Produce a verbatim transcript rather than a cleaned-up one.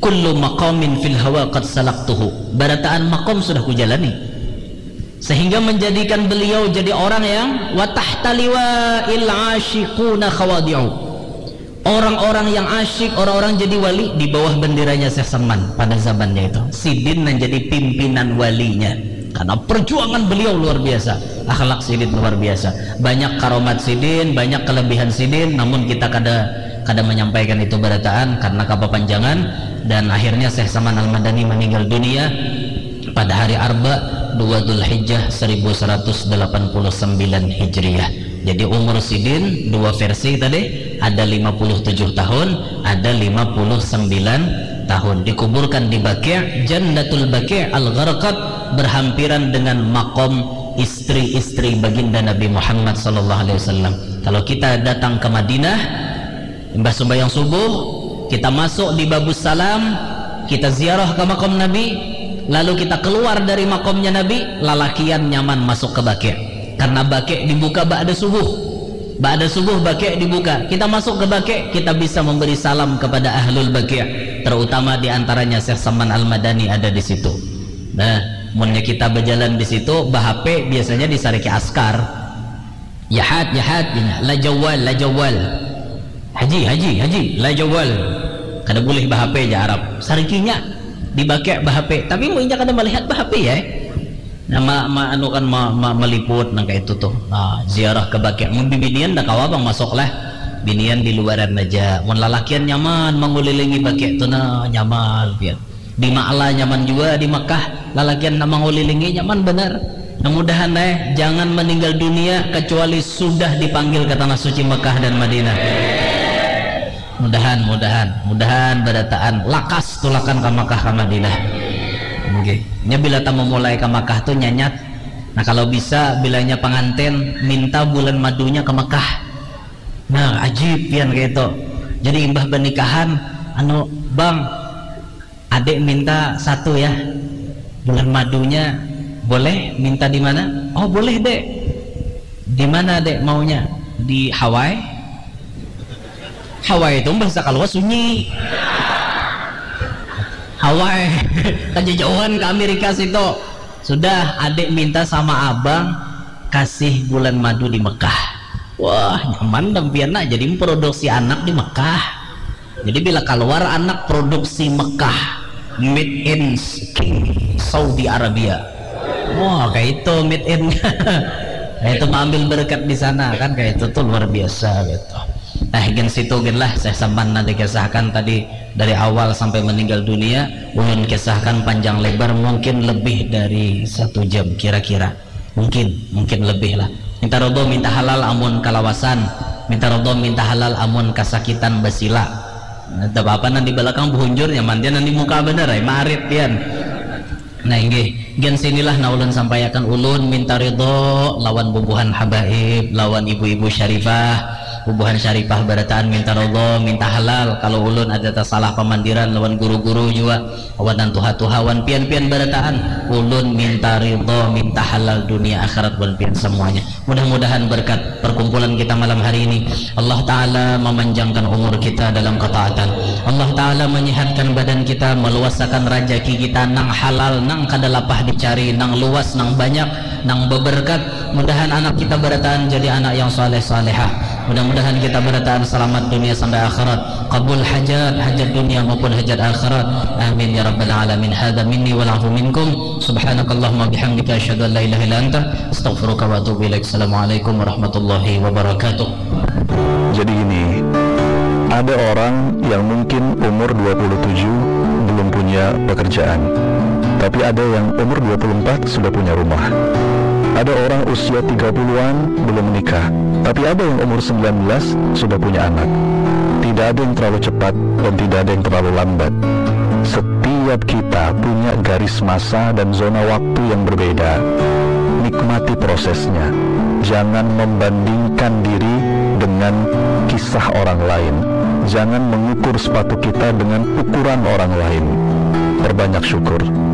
Kullu maqamin fil hawa qad salaktuhu. Barataan maqam sudah kujalani. Sehingga menjadikan beliau jadi orang yang wa tahta liwa'il asyiquna khawadi'u. Orang-orang yang asyik, orang-orang jadi wali di bawah benderanya Syekh Saman pada zamannya itu. Sidin yang jadi pimpinan walinya. Karena perjuangan beliau luar biasa, akhlak sidin luar biasa. Banyak karomat sidin, banyak kelebihan sidin, namun kita kada kada menyampaikan itu barataan karena kepanjangan, dan akhirnya Syekh Saman Al-Madani meninggal dunia pada hari Arba dua Dzulhijjah seribu seratus delapan puluh sembilan Hijriah. Jadi umur sidin dua versi tadi, ada lima puluh tujuh tahun, ada lima puluh sembilan tahun. Dikuburkan di Baqi', Jannatul Baqi' Al-Gharqad, berhampiran dengan makom istri-istri baginda Nabi Muhammad sallallahu alaihi wasallam. Kalau kita datang ke Madinah, imbah sembahyang subuh, kita masuk di Babus Salam, kita ziarah ke makam Nabi, lalu kita keluar dari makamnya Nabi, lalakian nyaman masuk ke Baqi'. Karena Baqi' dibuka ba'da subuh. Ba'da subuh Baqi' dibuka. Kita masuk ke Baqi', kita bisa memberi salam kepada ahlul Baqi', terutama di antaranya Syekh Saman Al-Madani ada di situ. Nah, munnya kita berjalan di situ, bah-H P biasanya disariki askar. Jahat, jahat, gini. La jawal, la jawal. Haji, haji, haji, la jawal. Kada boleh bah-H P ja Arab. Sarikinya di Baqi' bah-H P. Tapi mun inya kada melihat bah-H P ya. Nah, ma, ma, anu kan ma, ma, meliput nang kayak itu tuh. Nah, ziarah ke Baqi'. Mun bibinian dah kawa bang masuk lah. Binian di luaran aja. Mun lalakian nyaman mengulilingi Baqi' tuh nah nyaman pian. Di Ma'la nyaman juga di Mekah, lalakian nak mangulilingi nyaman benar. Nah, mudahan eh jangan meninggal dunia kecuali sudah dipanggil ke tanah suci Mekah dan Madinah. Mudahan, mudahan, mudahan barataan lakas tulakan ke Mekah ke Madinah. Oke. Nya bila tamu mulai ke Mekah tuh nyanyat. Nah, kalau bisa bilanya pengantin minta bulan madunya ke Mekah. Nah, ajib pian kayak itu. Jadi imbah pernikahan, anu, bang, adik minta satu ya, bulan madunya boleh minta di mana? Oh, boleh dek. Di mana dek maunya? Di Hawaii. Hawaii itu bahasa kalau sunyi. Hawaii. Kejauhan ke Amerika situ. Sudah, adik minta sama abang kasih bulan madu di Mekah. Wah, nyaman dampian nah, jadi memproduksi anak di Mekah. Jadi bila keluar anak produksi Mekah, made in Saudi Arabia. Wah, kayak itu made in. Kayak itu mengambil berkat di sana kan, kayak itu tuh luar biasa gitu. Nah, gen situ gen lah, saya sampan nanti kisahkan tadi dari awal sampai meninggal dunia, ulun kisahkan panjang lebar mungkin lebih dari satu jam kira-kira. Mungkin, mungkin lebih lah. Minta ridho, minta halal amun kalawasan. Minta ridho, minta halal amun kasakitan basila. Nah, tak apa-apa nanti belakang buhunjur nyaman dia nanti muka bener ay, marit pian. Nah, inggih, gen sinilah nah ulun sampaiakan ulun minta ridho lawan bubuhan habaib, lawan ibu-ibu syarifah, bubuhan syarifah barataan minta ridho, minta halal. Kalau ulun ada tasalah pamandiran lawan guru-guru jua, awan nang tuha-tuha, wan pian-pian barataan, ulun minta ridho, minta halal dunia akhirat wan pian semuanya. Mudah-mudahan berkat perkumpulan kita malam hari ini, Allah Ta'ala memanjangkan umur kita dalam ketaatan. Allah Ta'ala menyehatkan badan kita, meluasakan rajaki kita nang halal, nang kada lapah dicari, nang luas, nang banyak, nang beberkat. Mudahan anak kita barataan jadi anak yang saleh salehah. Mudah-mudahan kita barataan selamat dunia sampai akhirat. Kabul hajat, hajat dunia maupun hajat akhirat. Amin ya rabbal alamin. Hadza minni wal afu minkum. Subhanakallahumma bihamdika, asyhadu an la ilaha illa anta, astaghfiruka wa atubu ilaik. Assalamualaikum warahmatullahi wabarakatuh. Jadi gini, ada orang yang mungkin umur dua puluh tujuh belum punya pekerjaan, tapi ada yang umur dua puluh empat sudah punya rumah. Ada orang usia tiga puluhan belum menikah, tapi ada yang umur sembilan belas sudah punya anak. Tidak ada yang terlalu cepat dan tidak ada yang terlalu lambat. Setiap kita punya garis masa dan zona waktu yang berbeda. Nikmati prosesnya. Jangan membandingkan diri dengan kisah orang lain. Jangan mengukur sepatu kita dengan ukuran orang lain. Perbanyak syukur.